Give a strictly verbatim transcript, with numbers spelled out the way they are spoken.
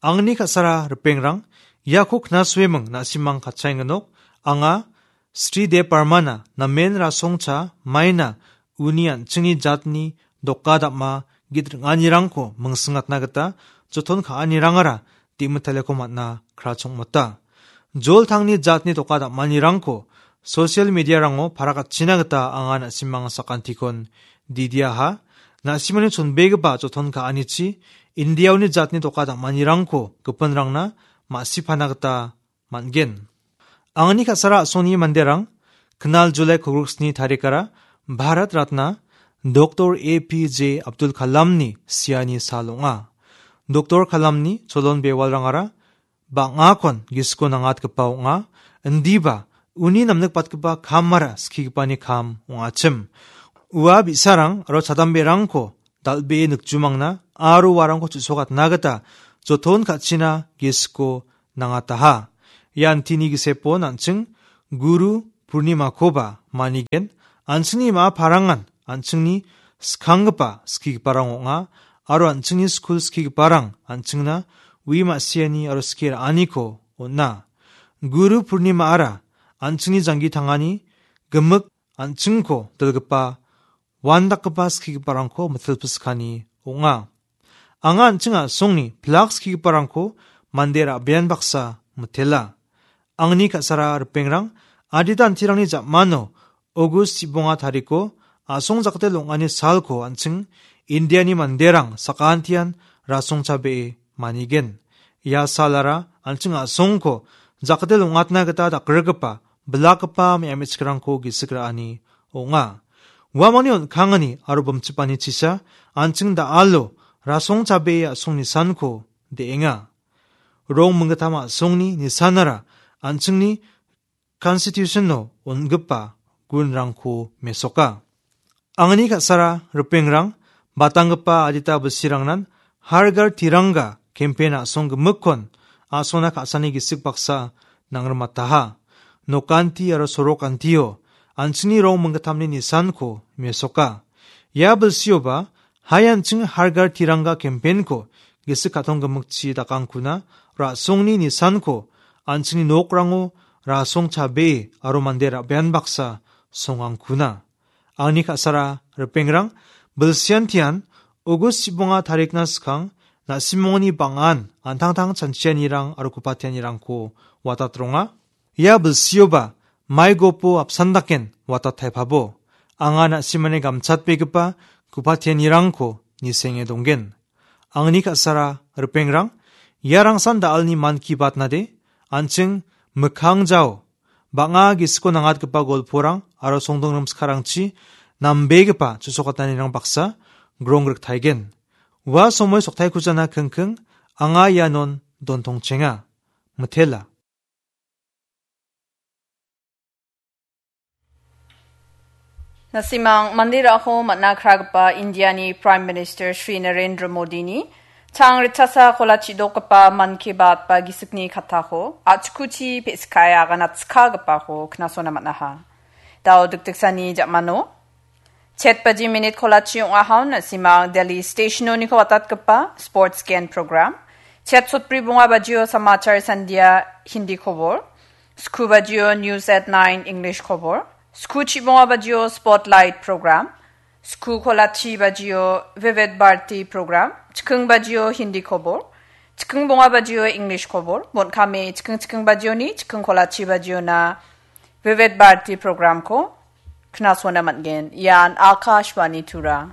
Angni ka·sara ripengrang, iako knasueming na·simang katchaengenok, anga Sri Dev Barmana namen rasongcha maina uni an·chingni jatni doka dam·a git ring·anirangko mingsingna gita joton ka·anirangara dimitaleko man·a krachongmota. Joltangni jatni doka dam·anirangko social media-rango parakatchina gita anga na·simang sakantikon didiaha. Na·simani chonbegipa joton ka·anichi Indiaoni jatni doka dam·anirangko gipinrangna ma·sipana gita man·gen. Angni ka·sara a·songni manderang, knal Julai kolgriksni tarikara Bharat Ratna Doktor A P J Abdul Kalamni siani sal ong·a. Doktor Kalamni cholon bewalrangara bang·akon gisiko nangatgipa ong·a, indiba uni namnikbatgipa kamara skigipani kam ong·achim. Ua bi·sarang aro chadamberangko dal·bee nikjumangna aro uarangko chu·sokatna gita joton ka·china gisiko nangataha. Ia antini gisepon an·ching Guru Purnimakoba manigen, an·chingni ma·a parangan an·chingni skanggipa skigiparang ong·a, aro an·chingni skul skigiparang an·chingna ui ma·siani aro skie ra·aniko on·a. Guru Purnimaara an·chingni janggi tangani gimik an·chingko dilgipa uandakgipa skigiparangko mitilpiskani ong·a. Anga an·ching a·songni pilak skigiparangko mande ra·bean baksa mitela. Angni ka·sara ripengrang, adita antirangni jamano Ogust chibonga tariko a·song jakdel ong·ani salko an·ching Indiani manderang sakantian rasongchabee manigen. Ia salara an·ching a·songko jakdel ong·atna gita dakgrikgipa, bilakgipa me·amichikrangko gisik ra·ani ong·a. Uamangni on·kangani aro bimchipani chisa an·ching da·alo rasongchabee a·song nisanko de·enga. Rong minggittam a·songni nisanara an·chingni Constitution-o on·gipa gunrangko mesoka. Angni ka·sara ripengrang, batanggipa adita bilsirangnan Har Ghar Tiranga campaign a·song gimikkon a·songna ka·sani gisik baksa nangrimataha. Nokanti aro sorokantio an·chingni rong minggittamni nisanko mesoka. Ia bilsioba hai an·ching Har Ghar Tiranga campaign-ko gisik ka·tong gimikchi dakangkuna, ra·songni nisanko an·chingni nokrango rasong chabee aro mande ra·bean baksa songangkuna. Angni ka·sara ripengrang, bilsiantian Ogust chibonga tarikna skang, na·simongni bang·an antangtang chanchianirang aro gupatianirangko watatronga. Ia bilsioba maigopo apsan daken watat taipabo. Anga na·simani gamchatbegipa gupatianirangko nisenge donggen. Angni ka·sara ripengrang, ia rangsan da·alni man ki batnade, an·ching mikkang jao, bang·a gisiko nangatgipa golporang aro songdongrim sikarangchi nambegipa chusokatnanirang baksa grongrik taigen. Ua somoi soktaikujana kingking, anga ianon dontongchenga. Mitela. Na·simang mande ra·ako man·a kragipa Indiani Prime Minister Shri Narendra Modini chang ritchasa kolachi dokgipa Mann Ki Baat ba gisikni kattako a·chikuchi pe·sikae aganatskagipako knasona man·aha. Dao dikdiksani jamano chet baji minit kolachi ong·ahon na·simang Delhi Stationoniko watatgipa Sports Gen Program. Chet sotbri bonga bajio Samachar Sandhya Hindi khobor. Sku bajio News at nine English khobor. Sku chibonga bajio Spotlight Program. Sku kolachi bajio Vivid Bharati Program. Chiking bajio Hindi khobor. Chiking bonga bajio English khobor. Bon·kame chiking chiking bajioni, chiking kolachi bajiona Vivid Bharati Programko knasona man·gen. Ian Akashvani Tura.